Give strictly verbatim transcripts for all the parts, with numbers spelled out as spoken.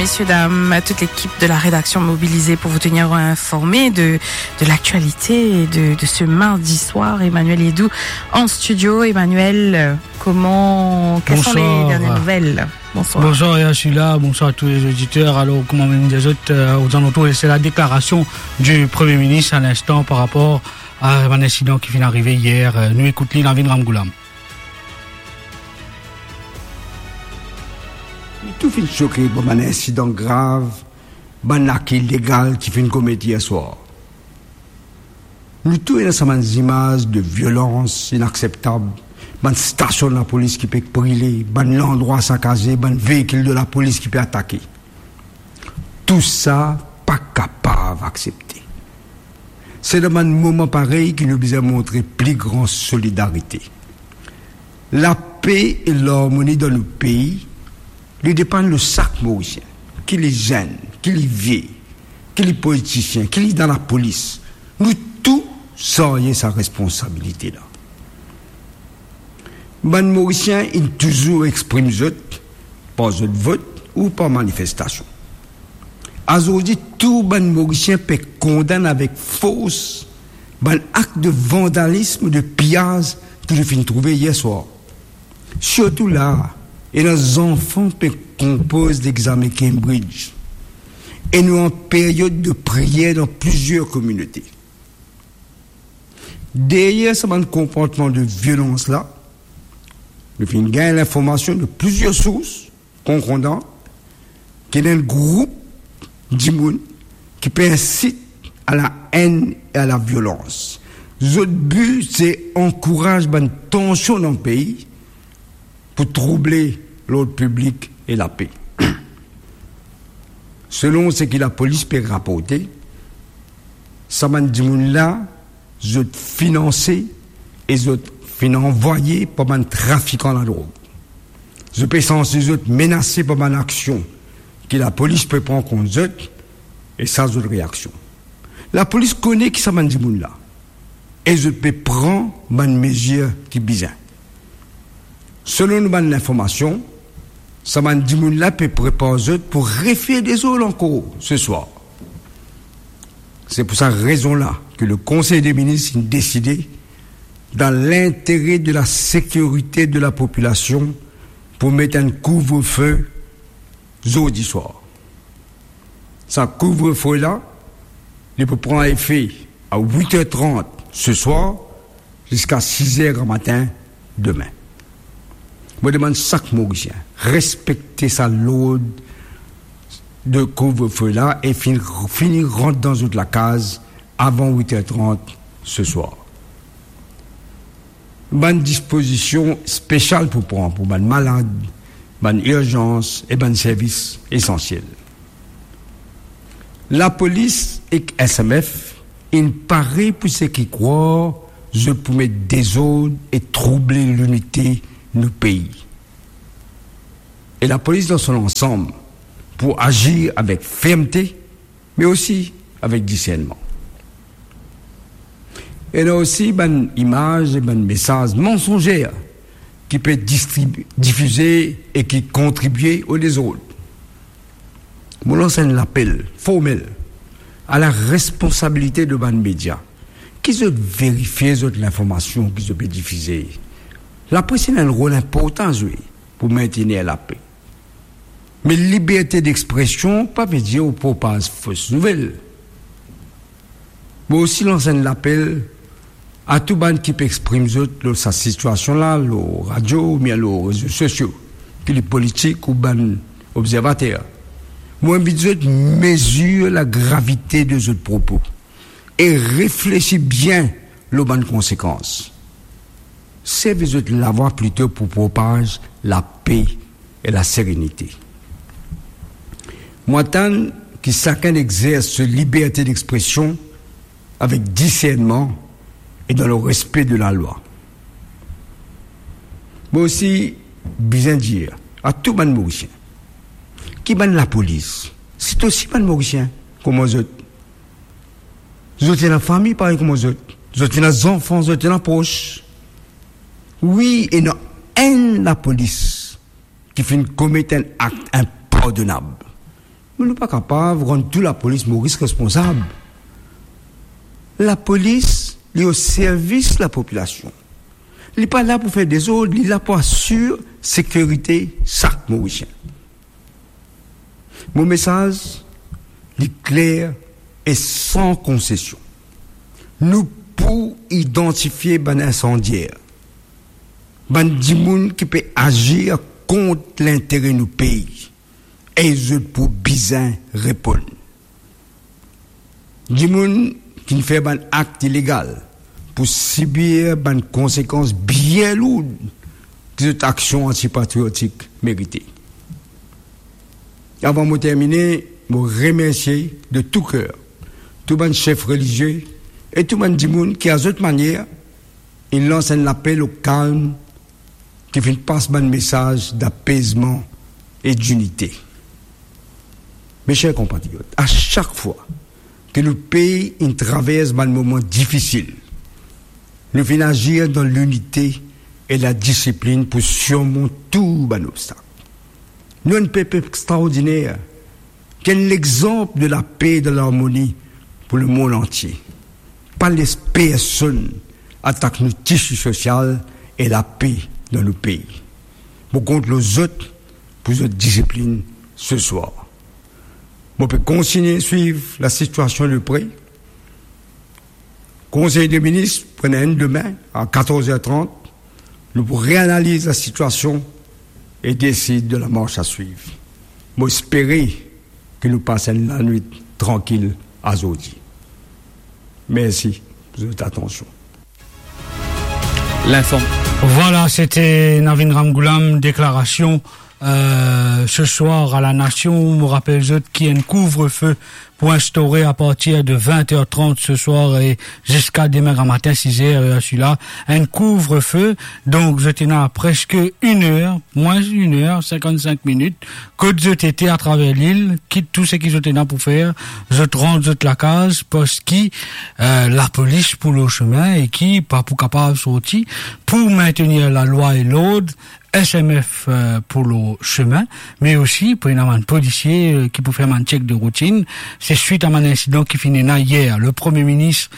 Messieurs, dames, toute l'équipe de la rédaction mobilisée pour vous tenir informés de, de l'actualité de, de ce mardi soir. Emmanuel Edou en studio. Emmanuel, euh, comment, quelles sont les Bonsoir. Dernières nouvelles ? Bonsoir. Bonsoir, Yashila. Bonsoir à tous les auditeurs. Alors, kouma mo dir zot, euh, aux alentours, c'est la déclaration du Premier ministre à l'instant par rapport à un incident qui vient d'arriver hier. Euh, nou ekout li, Navin Ramgoolam. Nou tou finn soke par bann insidan grav, bann akt ilegal ki finn komet yer swar. Nou tou ena sa bann zimaz de violans inakseptab, bann stasion lapolis ki pe brile, bann landrwa sakaze, bann veikil de lapolis ki pe atake. Tousa pa kapav aksepte. Se dan bann moman parey ki nou bizin montre pli gran solidarite. Lape e larmoni dan nou pei, li depann lor sak Morisien, ki li zenn, ki li vie, ki li politisien, ki li dan lapolis. Nou tou sarye sa responsabilite la. Bann Morisien inn touzour exprim zot par zot vot ou par manifestasion. Azordi, tou bann Morisien pe kondann avek fors bann akt de vandalism, de piyaz ki nou finn trouve yer swar. Sirtou la, ena zanfan pe konpoz lexame Cambridge. E nou an period de priyer dan plizier kominote. Deryer sa bann konportman de violans la, nou finn gagn linformasion de plizier sours konkordan ki ena enn group dimoun ki pe insit a la enn e a la violans. Zot bi se ankouraz bann tansion dan pei pou trouble lord piblik e lape. Selon seki lapolis pe raporte, sa bann dimoun la, zot finanse e zot finn anvwaye par bann trafikan ladrog. Zot pe sanse zot menase par bann aksion ki lapolis pe pran kont zot, e sa zot reaksion. Lapolis kone ki sa bann dimoun la, e zot pe pran bann mezir ki bizin. Selon nou bann linformasion, sa bann dimoun la pe prepar zot pou refir dezord ankor se swar. Se pou sa rezon la ki le Konsey de Minis inn deside, dan lintere de la sekirite de la popilasion, pou met enn kouvrefe zordi swar. Sa kouvrefe la, li pou pran efe a wit er trant se swar ziska siz er gramatin demin. Mo demann sak Morisien respekte sa lord de kouvrefe la e fini, fini rant dan zot lakaz avan wit er trant se swar. Bann dispozision spesial pou pran pou bann malad, bann irzans e bann servis esansiel. Lapolis ek S M F inn pare pou seki krwar zot pou met dezord e trouble linite nou pei. E lapolis dan so lansam pou azir avek fermte, me osi avek disernman. Ena osi bann imaz e bann mesaz mansonzer ki pe distribi-, difize e ki kontribie o dezord. Mo lans enn lapel formel a la responsabilite de bann media, ki zot verifie zot linformasion ki zot pe difize. Lapres ena enn rol inportan a zwe pou mintenir lape. Me liberte dexpresion pa ve dir ou propaz fos nouvel. Mo osi lans enn lapel a tou bann ki pe exprim zot lor sa sitiasion la, lor radio oubien lor rezo sosio, ki li politik ou bann obzervater. Mo invit zot mezir lagravite de zot propo e reflesi bien lor bann konsekans. Servi zot lavwa plito pou propaz lape e laserenite. Mo atann ki sakenn exers so liberte dexpresion avek disernman e dan le respe de lalwa. Mo osi bizin dir a tou bann Morisien ki bann lapolis, se osi bann Morisien kouma zot. Zot ena fami parey kouma zot. Zot ena zanfan, zot ena pros. Wi, ena enn lapolis ki finn komet enn akt inpardonab. Me nou pa kapav rann tou lapolis Moris responsab. Lapolis, li o servis lapopilasion. Li pa la pou fer dezord, li la pou asir sekirite sak Morisien. Mo mesaz, li kler e san konsesion. Nou pou idantifie bann insandier, bann dimoun ki pe azir kont lintere nou pei, e zot pou bizin reponn. Dimoun ki finn fer bann akt ilegal pou sibir bann konsekans bien lour ki zot aksion antipatriotik merite. Avan mo termine, mo remersie de tou ker tou bann sef relizie e tou bann dimoun ki, a zot manier, inn lans enn lapel o kalm, ki finn pas bann mesaz dapezman e dinite. Me ser konpatriot, a sak fwa ki nou pei inn travers bann moman difisil, nou finn azir dan linite e ladisiplinn pou sirmont tou bann obstak. Nou enn pep extraordiner, ki enn lexanp de lape e de larmoni pou lemond antie. Pa les personn atak nou tisi sosial e lape dan nou pei. Mo kont lor zot pou zot disiplinn seswar. Mo pe kontigne swiv lasitiasion de pre. Konsey de Minis pou ena enn demin a katorz er trant. Nou pou reanaliz lasitiasion e desid de lamars a swiv. Mo espere ki nou pas enn lanwit trankil azordi. Mersi pou zot atansion. L'inform- Voilà, c'était Navin Ramgoolam, déclaration, euh, ce soir à la nation. Mo rapel zot ki enn couvre-feu pou instaure apartir de vint er trant ce soir e ziska demin gramatin siz er, er sila, enn couvre-feu. Donk, zot ena preske enn er, mwins enn er, sinkann-sink minit, kot zot ete atraver lil, kit tou seki zot ena pou fer, zot rant zot lakaz, parski, euh, lapolis pou lor semin e ki pa pou kapav sorti pou maintenir lalwa e lord, S M F, euh, pou lor semin, me osi pou ena bann polisie, euh, ki pou fer bann check de routine. Se swit a bann insidan ki finn ena yer. Le Premie Minis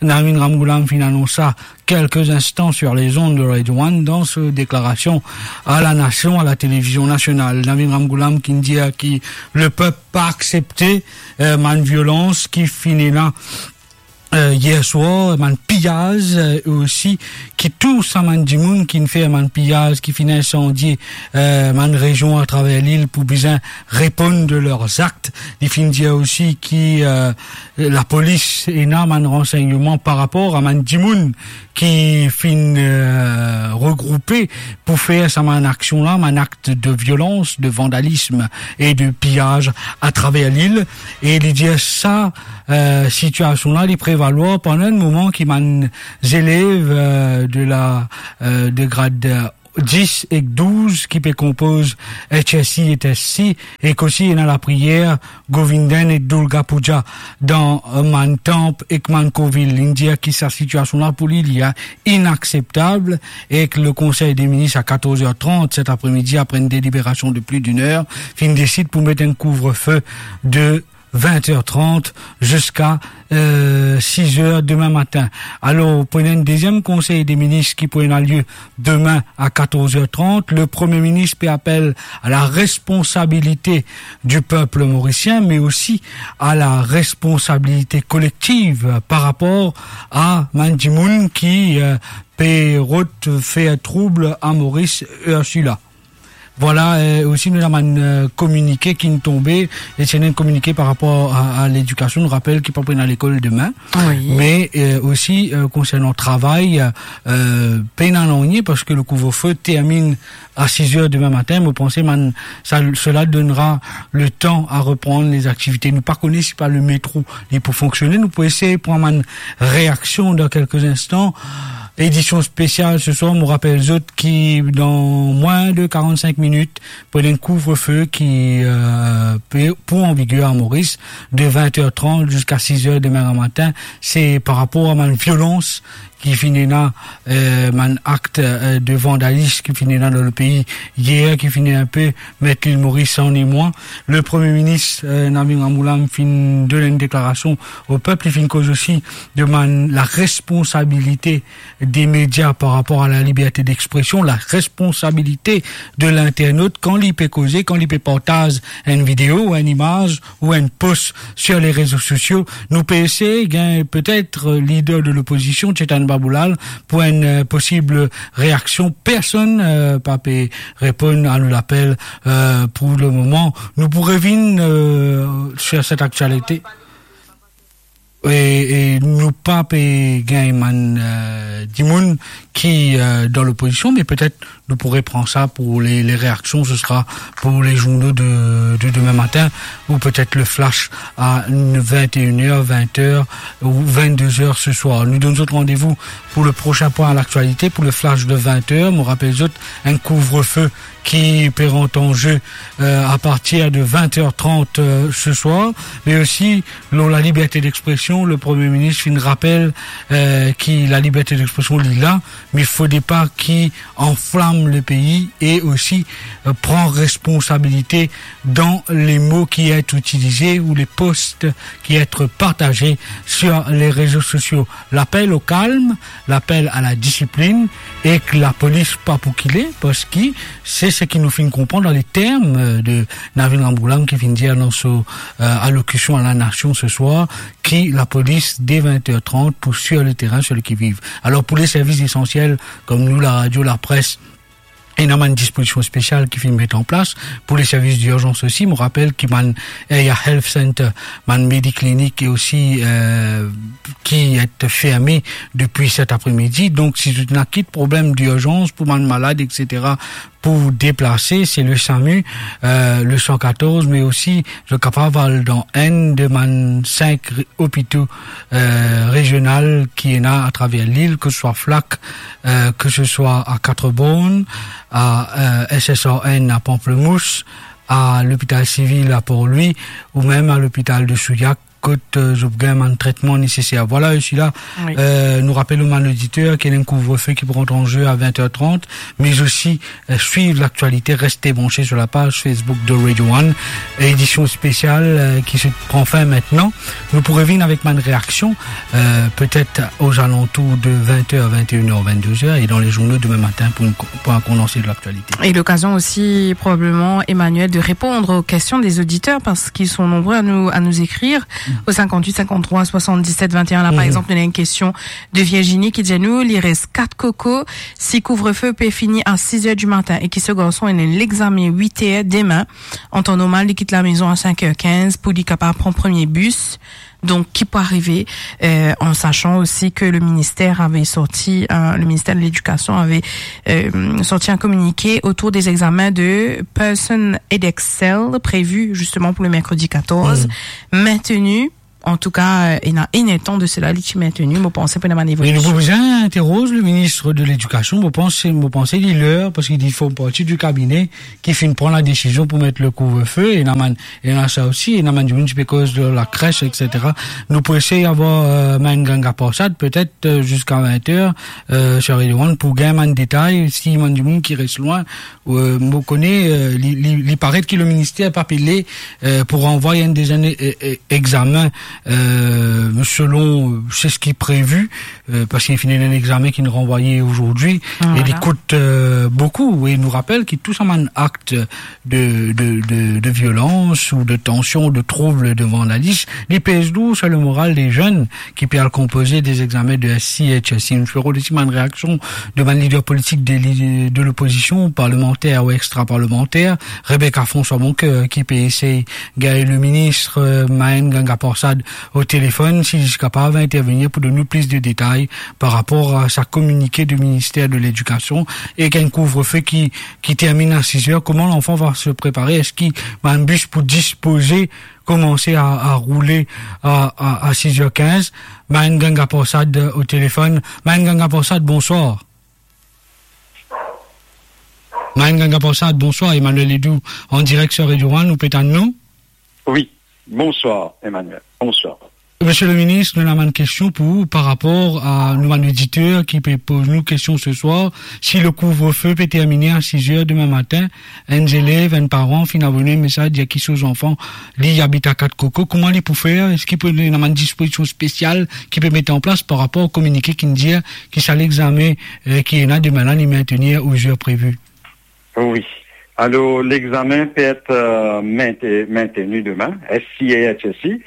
Navin Ramgoolam finn anons sa quelques instants sur les ondes de Radio One dans sa déclaration à la nation, à la télévision nationale. Navin Ramgoolam ki dir ki lepep pa aksepte, euh, bann violans ki finn ena euh, yer swar, bann piyaz, euh, e osi ki tou sa bann dimoun ki finn fer bann piyaz, ki finn insandie, euh, bann rezion atraver lil pou bizin reponn de ler zakt. Li finn dir osi ki, euh, lapolis ena bann ransegnman par rapor a bann dimoun ki finn, euh, regroupe pou fer sa bann aksion la, bann akt de violans, de vandalism e de piyaz atraver lil. E li dir sa, euh, sitiasion la, li prevalwar pandan enn moman ki bann zelev, euh, de la, euh, de grad, euh, dis ek douz ki pe konpoz H S C ek S C C, ek osi ena lapriyer Govindan e Durga Puja dan, euh, bann tanp ek bann kourvil. Li dir ki sa sitiasion la pou li, li, euh, inakseptab, ek le Konsey de Minis a katorz er trant set apremidi, apre enn deliberasion de plis d'enn er, finn desid pou met enn couvre-feu de vint er trant ziska, euh, siz er demin matin. Alor, pou ena enn deziem Konsey de Minis ki pou ena lie demin a katorz er trant, le Premie Minis pe apel a la responsabilite du peuple mauricien, me osi a la responsabilite kolektiv par rapor a bann dimoun ki, euh, pe rod fer troub a Moris, euh, sila. Vwala, euh, osi nou ena bann, euh, kominike ki'nn tonbe, e se enn kominike par rapor a, a ledikasion. Nou rapel ki pa pou ena lekol demin, wi, me, euh, osi, euh, konsernan travay, euh, pena nanye, parski le couvre-feu terminn a siz er demin matin. Mo panse bann, sa, sela donnera le tan a reprann lezaktivite. Nou pa kone si pa le metro li pou fonksione. Nou pou esey pran bann reaksion dan kelke instan. Edision spesial se swar, mo rapel zot ki dan mwin de karant-sink minit, pou ena enn couvre-feu ki, euh, pe, pou an viger a Moris, de vint er trant ziska siz er demin gramatin. Se par rapor a bann violans ki finn ena, eh, bann akt, eh, de vandalism ki finn ena dan lepei yer, ki finn inpe met Lil Moris an emwa. Le Premie Minis, eh, Navin Ramgoolam finn donn enn deklarasion o pep, li finn koz osi de bann laresponsabilite de media par rapor a laliberte dexpresion, laresponsabilite de linternot kan li pe koze, kan li pe partaz enn video, enn imaz ou enn post sir le rezo sosio. Nou pe eseye gagn petet lider de lopozision, Chetan Baboulal, pou enn, eh, posib reaksion. Personn, eh, pa pe reponn a nou lapel, eh, pou lemoman. Nou pou revinn, eh, sir set aktialite. E, e nou pa pe gagn bann, eh, dimoun ki, eh, dan lopozision, me petet nou pou repran sa pou le, le reaksion, se sera pou le zourno de, de demin matin, ou petet le flash a vinte et une heures, vingt heures ou vingt-deux heures ce soir. Nou donn zot randevou pou le prosin pwin a laktialite, pou le flash de vingt heures. Mo rapel zot, enn kouvrefe ki pe rant an ze, eh, a partir de vingt heures trente, eh, ce soir, me osi lor laliberte dexpresion, le Premie Minis finn rapel, eh, ki laliberte dexpresion li la, me fode pa ki anflam lepei e osi, eh, pran responsabilite dan le mo ki et itilize ou le post ki et partaze sir le rezo sosio. Lapel o kalm, lapel a ladisiplin, ek lapolis pa pou kile, parski se seki nou finn konpran dan le term, eh, de Navin Ramgoolam ki finn dir dan so, eh, alokision a lanasion se swar, ki lapolis de vingt heures trente pou sir leterin, sir le qui-vive. Alor, pou le servis esansiel, kom nou, laradio, lapres, ena bann dispozision spesial ki finn met an plas. Pou le servis dirzans osi, mo rapel ki bann Area Health Center, bann mediklinik e osi, eh, ki et ferme depi set apremidi. Donk, si zot ena kit problem dirzans pou bann malad, et cetera, pou deplase, se le SAMU, eh, le san katorz, me osi zot kapav al dan enn de bann sink re-, opito, eh, rezional ki ena atraver lil, ke se swa Flacq, eh, ke se swa a Quatre-Bornes, a, eh, S S R N a Pamplemousse, a Lopital Sivil a Port-Louis, ou mem a Lopital de Souillac, kot, eh, zot pou gagn bann tretman neseser. Vwala, osi la, Wi. eh, nou rapel ou bann oditer ki ena enn kouvrefe ki pou rant an ze a vingt heures trente, me osi, eh, swiv laktialite, reste branche sur la page Facebook de Radio One. Edision spesial, eh, ki se pran fin aster. Nou pou revinn avek bann reaksion, eh, petet aux alentours de vingt heures, vingt et une heures, vingt-deux heures, e dan le zourno demin matin pou enn ko-, pou enn kondanse de laktialite. Et l'occasion aussi, probablement, Emmanuel, de répondre aux questions des auditeurs parce qu'ils sont nombreux à nous, à nous écrire au cinquante-huit cinquante-trois soixante-dix-sept vingt et un. Là, par exemple, il y a une question de Virginie qui dit à nous, il reste quatre cocos. Si couvre-feu peut finir à six heures du matin et que ce garçon a un examen huit heures demain, en temps normal, il quitte la maison à cinq heures quinze pour lui capable prendre premier bus. Donc, qui peut arriver, euh, en sachant aussi que le ministère avait sorti, euh, le ministère de l'Éducation avait, euh, sorti un communiqué autour des examens de Pearson Edexcel prévus justement pour le mercredi quatorze, maintenu. En tout cas, euh, il y a un temps de cela, il est maintenu. Mo panse pou ena bann evolisyon. Me nou pou bizin interoz le ministre de l'Éducation. Mo panse, mo panse li ler, parski li fer parti du cabinet ki finn pran ladesizion pou met le couvre-feu, e ena bann, ena sa osi, ena bann dimoun ki pe koz de la crèche, et cetera. Nou pou esey avoir, eh, Maïn Ganga Prasad, petet, eh, ziska vingt heures, eh, sir Radio One, pou gagn bann detay, si bann dimoun ki res lwin, eh, mo kone, eh, li, li, li paret ki le minister pa pe le, eh, pou ranvway enn de bann, eh, eh, examen, eh, selon, eh, seki previ, eh, parski finn ena enn examen ki ranvwaye azordi, e li kout, eh, boukou. E nou rapel ki tou sa bann akt de, de, de, de violans ou de tansion, de troub, de vandalism, li pez lour sir le moral de zenn ki pe al konpoze de examen de S C H S C. Nou fer osi bann reaksion de bann lider politik de li-, de lopozision, parlemanter ou extraparlemanter, Rebecca François Boncoeur, ki pe esey gagn le ministre, eh, Maïn Ganga Prasad o telefonn, si li kapav intervenir pou donn nou plis de detay par rapor a sa kominike de minister de l'Éducation, e enn kouvre-feu ki, ki termine à six heures. Comment l'enfant va se préparer? Eski bann bis pou dispoze, komanse a, a roule a, a, a six heures quinze? Maïn Ganga Prasad o telefonn. Maïn Ganga Prasad, bonswar. Maïn Ganga Prasad, bonswar. Emmanuel Edoux, an direk sir Radio One, ou pe tann nou? Wi, bonswar, Emmanuel. Bonswar. Monsieur le ministre, nou ena bann kestion pou ou par rapor a nou bann oditer ki pe poz nou kestion se swar, si le couvre-feu pe termine a sis er demin matin, enn zelev, enn paran finn avoy enn mesaz dir ki so zanfan, li abit a Kat Koko, kouma li pou fer? Eski pou ena bann dispozision spesial ki pe mete an plas par rapor kominike ki'nn dir ki sa lexame, eh, ki ena demin la, li maintenir o zer previ? Wi. Alor, lexame pe et, eh, mainte-, mainteni demin, S C et H S C,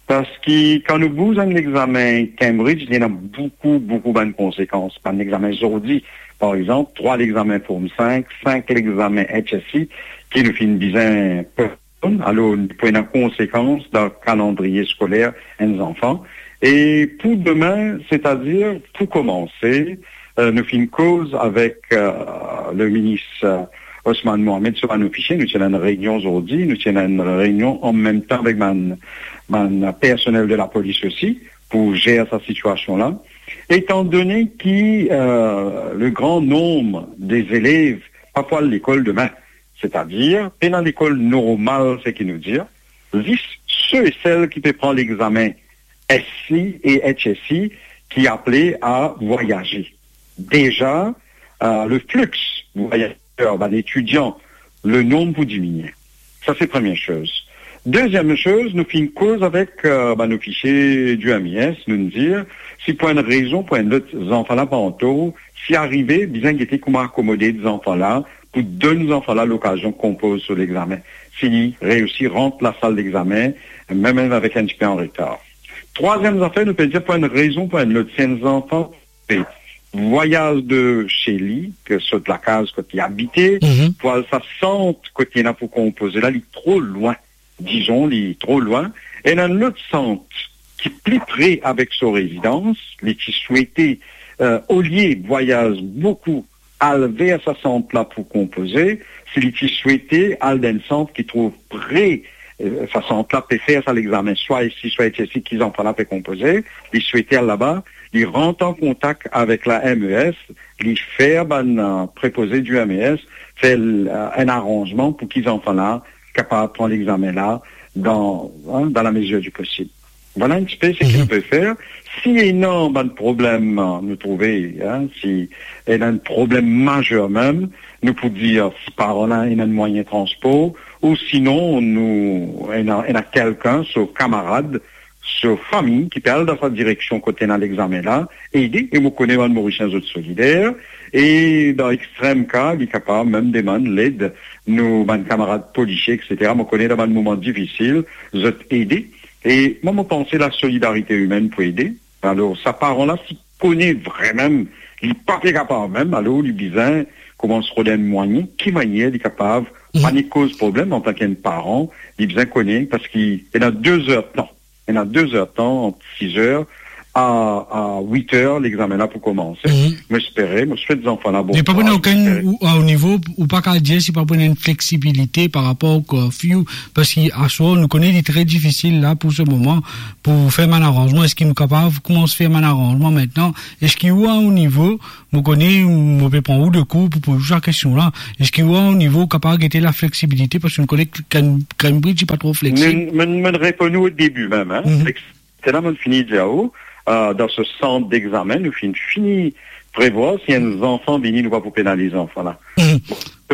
parski kan nou bouz enn lexame Cambridge, li ena boukou, boukou bann konsekans. Bann lexame zordi, par exanp, trwa lexame Form five, sink lexame H S C, ki nou finn bizin Alor, pou ena konsekans dan kalandriye skoler enn zanfan. E pou demin, setadir pou koumanse, eh, nou finn koz avek, eh, le minis, eh, Osman Mohamed so bann ofisie, nou ti ena enn reynion zordi, nou ti ena enn reynion anmemtan avek bann, bann personel de lapolis osi pou zer sa sitiasion la. Etandone ki, eh, le gran nonb de zelev pa pou al lekol demin, setadir, pena lekol normal, seki nou dir, zis se e sel ki pe pran lexame S C et H S C ki apele a vwayaze. Deza, eh, le flix vwayazer, bann etidian, le nonb pou diminie. Sa se premie soz. Deziem soz, nou finn koz avek, eh, bann ofisie di M E S, nou'nn dir, si pou enn rezon, pou enn lot, zanfan la pa an tor, si arive, bizin gete kouma akomode zanfan la, pou donn zanfan la lokazion konpoz so lexame, si li reisi rant lasal lexame, mem, mem avek enn tipe an retar. Trwaziem zafer, nou pe dir pou enn rezon, pou enn lot, si enn zanfan pe vwayaz de se li, ki sort lakaz kot li abite, Mhm. pou al sa sant kot li ena pou konpoze la, li tro lwin, dizon, li tro lwin, ena enn lot sant ki pli pre avek so rezidans, li ti swete, eh, olie vwayaz boukou al ver sa sant la pou konpoze, si li ti swete al dan enn sant ki trouv pre, eh, sa sant la pe fer sa lexame, swa isi, swa isi, ki zanfan la pe konpoze, li swete al laba, li rant an kontak avek la M E S, li fer bann, eh, prepoze di M E S, fer, eh, enn aranzman pou ki zanfan la kapav pran lexame la dan, hein, dan lamezir di posib. Vwala enn tipe seki Mhm. nou pe fer. Si ena bann problem, eh, nou trouve, hein, si ena enn problem mazer mem, nou pou dir si paran la ena enn mwayin transpor, ou sinon nou ena, ena kelkenn, so kamarad, so fami ki pe al dan sa direksion kot ena lexame la, ede, e mo kone bann Morisien zot solider, e dan extrem ka, li kapav mem demann led nou bann kamarad polisie, et cetera. Mo kone dan bann moman difisil, zot ede. E mwa, mo panse lasolidarite imenn pou ede. Alor, sa paran la, si kone vremem, li pa pe kapav mem, alor li bizin koumans rod enn mwayin, ki manier li kapav, Mhm. pa ni koz problem antan ki enn paran, li bizin kone, parski ena de zer tan, ena de zer tan, ant sis er a, a wit er, lexame la pou koumanse. Mhm. Mo espere, mo swet zanfan la bon kouraz, mo espere. Ou, a ou nivo, ou pa kapav dir si pa pou ena enn fleksibilite par rapor o curfew, parski aswar, nou kone li tre difisil la pou se moman, pou fer bann aranzman. Eski nou kapav koumans fer bann aranzman aster? Eski ou, a ou nivo, mo kone, mo pe pran ou de kour pou poz ou sa kestion la, eski ou, a ou nivo, ou kapav gete lafleksibilite, parski nou kone ki Cam-, Cambridge, li pa tro fleksib? Mo, mo, mo reponn ou o debi mem, hein. Mhm. Fleksibilite la, mo fini dir ou, eh, dan se sant dexame, nou finn fini prevwar si enn zanfan vini, nou pa pou penaliz zanfan la. Mhm.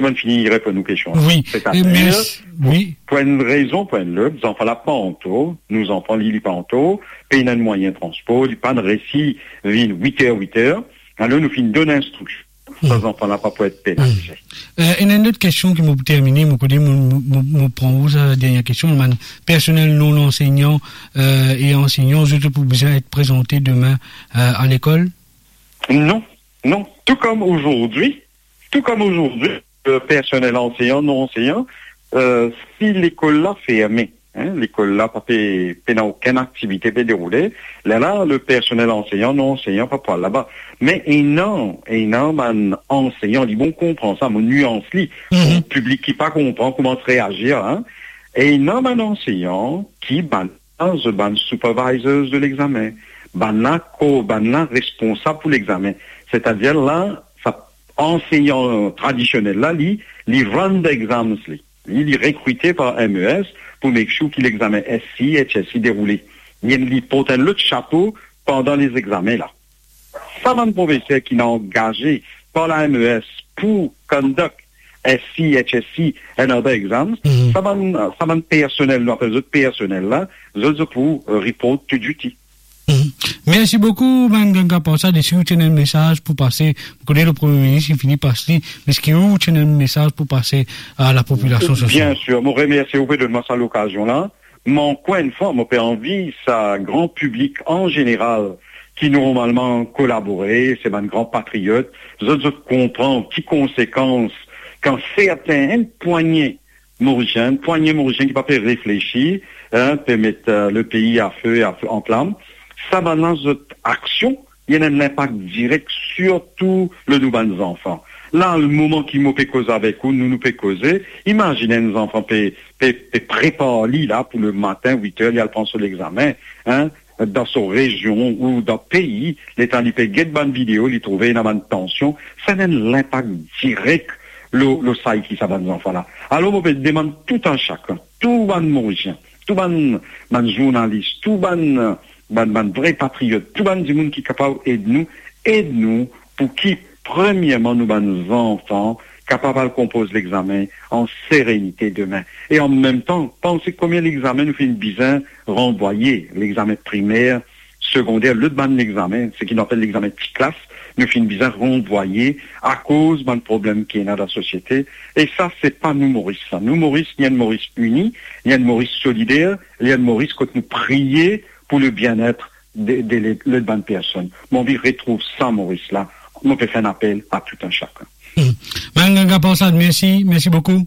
Mo fini reponn ou kestion la. Wi. Setadir, e mes-, pou, wi. Pou enn rezon, pou enn lot, zanfan la pa an tor, nou zanfan li, li pa an tor, pena enn mwayin transpor, li pa'nn reisi vinn wit er, wit er, alor nou finn donn instriksion, sa Hmm. zanfan la pa pou et penalize. Hmm. Eh, ena enn lot kestion ki mo pou termine, mo kone mo, mo, mo, mo pran ou sa dernie kestion, bann personel non ansegnan, eh, e ansegnan, zot pou bizin et prezante demin, eh, a lekol? Non, non. Tou kom azordi, tou kom azordi, eh, personel ansegnan, non ansegnan, eh, si lekol la ferme, hein, lekol la pa pe, pena okenn aktivite pe deroule, lerla le personel ansegnan, non ansegnan pa pou al laba. Me ena, ena bann ansegnan, li bon konpran sa, mo nians li, Mhm. pou piblik ki pa konpran, koumans reazir, hein. Ena bann ansegnan ki bann, zot bann supervisors de lexame, bann la ko-, bann la responsab pou lexame. Setadir la, sa ansegnan tradisionel la, li, li run the exams li. Li, li rekrite par M E S pou make sure ki lexame S C, H S C deroule. li, li port enn lot sapo pandan lezegzamen la. Sa bann profeser ki ena angaze par la M E S pou conduct S C, H S C and other exams, Mhm. sa bann, sa bann personel, nou apel zot personel la, zot, zot pou, euh, report to duty. Mhm. Mersi boukou, Mann Ganga Prasad. Eski ou ti ena enn mesaz pou pase? Mo kone le Premie Minis inn fini pas li, me eski ou ti ena enn mesaz pou pase a lapopilasion so swar? Bien sir, mo remersie ou pe donn mwa sa lokazion la. Me ankor enn fwa, mo pe anvi sa gran piblik an zeneral ki normalman kolabore, se bann gran patriot, zot, zot konpran ki konsekans kan sertin, enn pwagne Morisien, pwagne Morisien ki pa pe reflesi, hein, pe met, euh, le pei a fe, a fe, an flam. Sa bann la, zot aksion, li ena enn linpak direk sirtou lor nou bann zanfan. La, le moman ki mo pe koze avek ou, nou, nou pe koze, imazinn enn zanfan pe, pe, pe prepar li la pou le matin, wit er, li al pran so lexamen, hein, dan so rezion ou dan pei, letan li pe get bann video, li trouve ena bann tansion, sa ena enn linpak direk lor, lor sa ki sa bann zanfan la. Alor, mo pe demann tou enn sakenn, tou bann Morisien, tou bann, bann zournalis, tou bann, bann, bann vre patriot, tou bann dimoun ki kapav ed nou, ed nou pou ki, premierman, nou bann zanfan kapav al konpoz lexamen an serenite demin. E an mem tan, panse konbien lexamen nou finn bizin ranvwaye, lexamen primer, segonder, lot bann lexamen, seki nou apel lexamen ti klas, nou finn bizin ranvwaye akoz bann problem ki ena dan sosiete. E sa, se pa nou Moris sa. Nou Moris, li enn Moris ini, li enn Moris solider, li enn Moris kot nou priye pou le bien-être de, de le, lot bann personn. Mo anvi retrouv sa Moris la, mo pe fer enn apel a tou enn sakenn. Hmm. Mann Ganga Prasad, mersi, mersi boukou.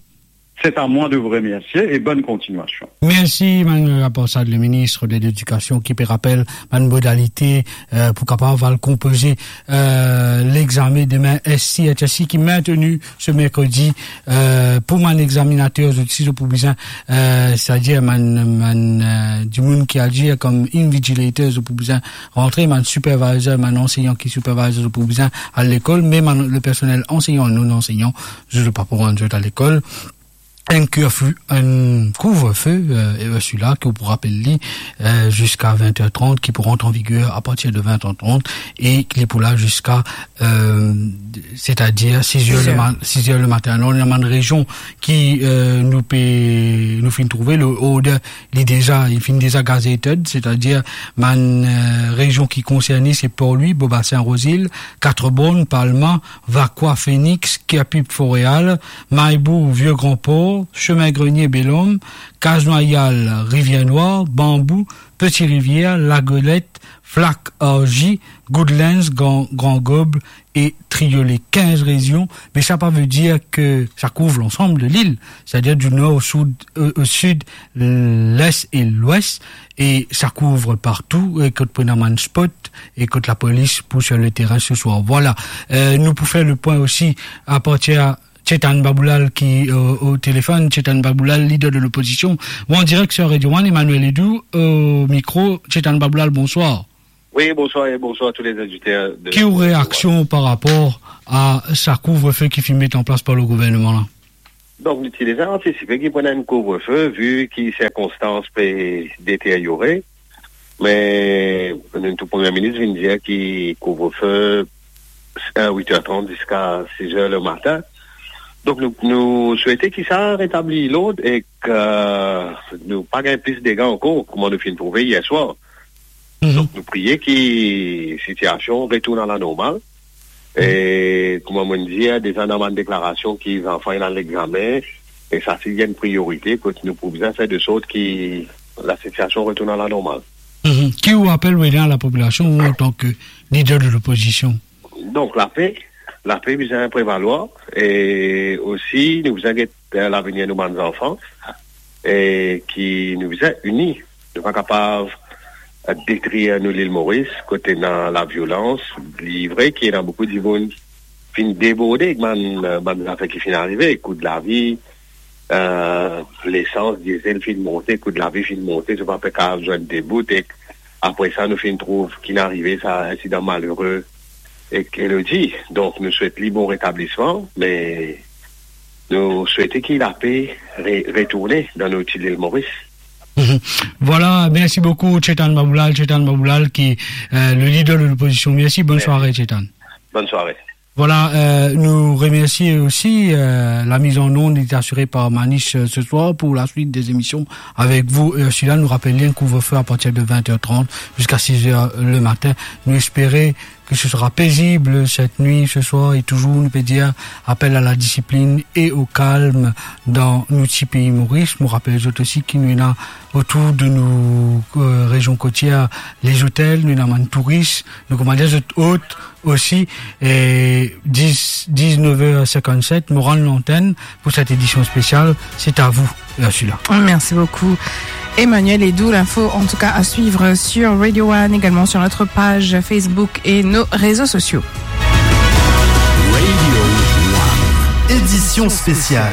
C'est à moi de vous remercier et bonne continuation. Mersi, Mann Ganga Prasad, le ministre de l'Éducation, ki pe rapel bann modalite, euh, pou kapav al konpoze, euh, lexamen demin S C H S C ki minteni se merkredi, euh, pou bann examinater, zot osi zot pou bizin, euh, setadir bann, bann, euh, dimoun ki agir kom invigilator, zot pou bizin rantre, bann supervisor, bann anseyan ki supervise, zot pou bizin al lekol, me bann, le personel anseyan, non anseyan, zot pa pou rann zot al lekol. Enn couvre-feu, enn couvre-feu, euh, e sila ki ou pou rapel li, euh, ziska vin er trant, ki pou rant an viger apartir de vin er trant e ki pou la ziska, euh, setadir sis er le Sis er. ma-, sis er le matin. Alor, ena bann rezion ki, euh, nou pe, nou finn trouve, le order, li deza, li finn deza gazetted, setadir bann, euh, rezion ki konserne, se Port-Louis, Beaubassin, Rose-Île, Quatre-Bornes, Palma, Vacoas, Phoenix, Kirpip, Fort-Réal, Mahe-Bourg, Vieux-Grand-Port, Chemin Grenier, Bel Ombre, Case-Noyal, Rivière-Noire, Bambou, Petite-Rivière, La Goélette, Flac, Orgy, Goodlands, Grand, Grand Gaube e Triolet. Kinz rezion, me sa pa ve dir ke sa kouv lansam de lil, setadir di nor o soud, o, o sid, les e lwes, e sa kouv partou, e kot pou ena bann spot, e kot lapolis pou sir le terin se swar. Vwala. Euh, nou pou fer le pwin osi apartir Chetan Baboulal ki, euh, o telefonn. Chetan Baboulal, lider de lopozision. Ou an direk sir Radio One, Emmanuel Edoux, o mikro. Chetan Baboulal, bonswar. Wi, bonswar e bonswar a tou lezoditer de Ki ou reaksion par rapor a sa couvre-feu ki finn met an plas par le gouvernman la? Donk, nou ti deza antisipe ki pou ena enn couvre-feu, vi ki sirkonstans pe deteryore. Me nou tou Premie Minis vinn dir ki couvre-feu, euh, wit er trant ziska sis er le matin. Donk, nou, nou swete ki sa retabli lord e ki nou pa gagn plis dega ankor, kouma nou finn trouve yer swar. Mhm. Donk, nou priye ki sitiasion retourn a la normal. E, kouma mo'nn dir, deza ena bann deklarasion ki zanfan ena lexamen, e sa se enn priorite, kot nou pou bizin fer de sort ki lasitiasion retourn a la normal. Mhm. Ki ou apel ou ena lapopilasion, ou antan ke lider de lopozision? Donk, lape, lape bizin prevalwar, e osi, nou bizin get, eh, lavenir nou bann zanfan, e ki nou bizin ini. Nou pa kapav, eh, detrir nou Lil Moris, kot ena laviolans. Li vre ki ena boukou dimoun finn deborde ek bann, eh, bann zafer ki finn arive, kou lavi, eh, lesans, diesel finn monte, kou lavi finn monte, zot pa pe kapav zwenn de bout, e apre sa, nou finn trouv ki finn arive sa insidan malere ek Elodie. Donk, nou swet li bon retablisman, me nou swete ki lape re-, retourne dan nou ti Lil Moris. Voilà, merci beaucoup, Chetan Maboulal, Chetan Maboulal, qui est, euh, le leader de l'opposition. Merci, bonne soirée, Chetan. Bonne soirée. Voilà, euh, nous remercions aussi, euh, la mise en onde est assurée par Manish, euh, ce soir pour la suite des émissions avec vous, Ursula. Nous rappelons un couvre-feu à partir de vingt heures trente jusqu'à six heures le matin. Nous espérons que ce sera paisible cette nuit, ce soir, et toujours, nou pe dir, apel à la discipline et au calme dans nou ti pei Moris. Nou rapel zot osi ki nou ena otour de nou, euh, rezion kotier, les hôtels, nou ena bann touris, nou koumans dir zot ot osi, e dis, dix-neuf heures cinquante-sept, mo rann lantenn pour cette édition spéciale. C'est à vous, Ursula. Merci beaucoup, Emmanuel. Et d'où l'info, en tout cas, à suivre sur Radio One, également sur notre page Facebook et nos réseaux sociaux. Radio One, édition spéciale.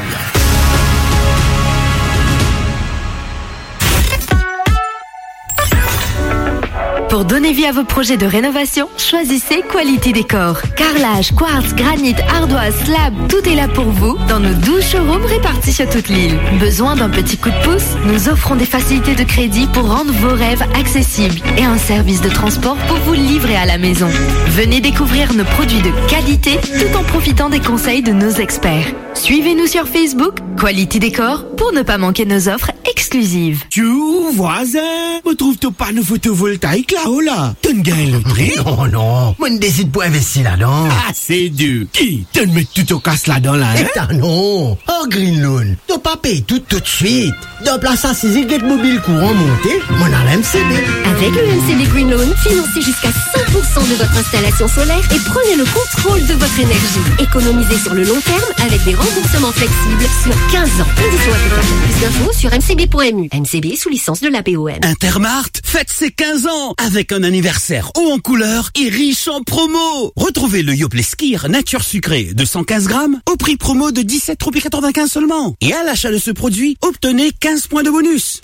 Pour donner vie à vos projets de rénovation, choisissez Quality Decor. Carrelage, quartz, granit, ardoise, slab, tout est là pour vous dans nos douze showrooms répartis sur toute l'île. Besoin d'un petit coup de pouce ? Nous offrons des facilités de crédit pour rendre vos rêves accessibles et un service de transport pour vous livrer à la maison. Venez découvrir nos produits de qualité tout en profitant des conseils de nos experts. Suivez-nous sur Facebook, Quality Decor, pour ne pas manquer nos offres exclusives. Tchou, vwazin, mo trouv to pano fotovoltaik lao la. To'nn gagn lotri? Non, non, mo'nn desid pou investi ladan. Ah, c'est dur. Ki? To'nn met tou to kas ladan la, hein? Eta non. Ar Green Loan, to pa pey tou toutswit. Dan plas asize get mo bil kouran monte, mo'nn al M C B. Avec le M C B Green Loan, financez jusqu'à cent pour cent de votre installation solaire et prenez le contrôle de votre énergie. Économisez sur le long terme avec des remboursements flexibles sur quinze ans. Conditions applicables. Plus d'infos sur M C B point M U. M C B sous licence de l'A P O M. Intermart fête ses quinze ans avec un anniversaire haut en couleur et riche en promo. Retrouvez le Yoplait Skyr nature sucrée de cent quinze grammes au prix promo de dix-sept roupies quatre-vingt-quinze seulement. Et à l'achat de ce produit, obtenez quinze points de bonus.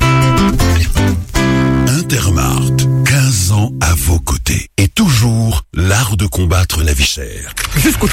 Intermart, quinze ans à vos côtés et toujours l'art de combattre la vie chère. Jusqu'au